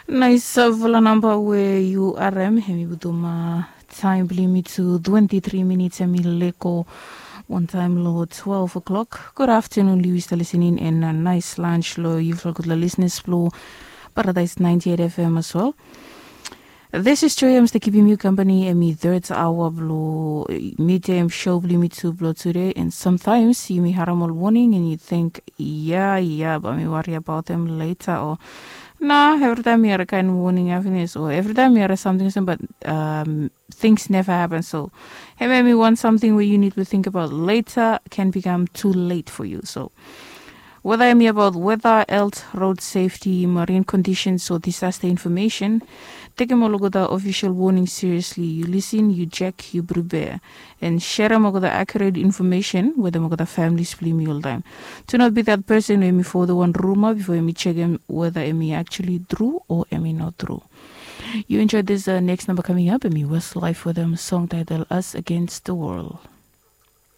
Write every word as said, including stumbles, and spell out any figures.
Nais, uh, vola namba we yu arem hemi butum, uh, taim bilong yumi tu twenty-three minits hemi leko. One time lo twelve o'clock. Good afternoon, Lewis, the listening, and a nice lunch lo yufla good listeners lo Paradise ninety-eight F M as well. This is Joy. I'm still keeping you company. Emi third hour blo midtime show blo yumi tu blo today. And sometimes yumi harem ol warning and you think, yeah, yeah, but mi worry about them later. Or, nah, every time mi hear a kind of warning happiness, or every time mi hear something, but, um, things never happen. So, hey, maybe want something where you need to think about later can become too late for you. So, whether emi about weather, health, road safety, marine conditions, or disaster information, tekem olgeta official warning seriously. Yu lisin, yu jek, yu prepare, and serem olgeta accurate information wetem olgeta families blong yumi oltaim. Do not be that person we emi forward wan rumor before emi jekem whether emi actually true or emi not true. You enjoy this, uh, next number coming up, emi Westlife wetem song title Us Against the World.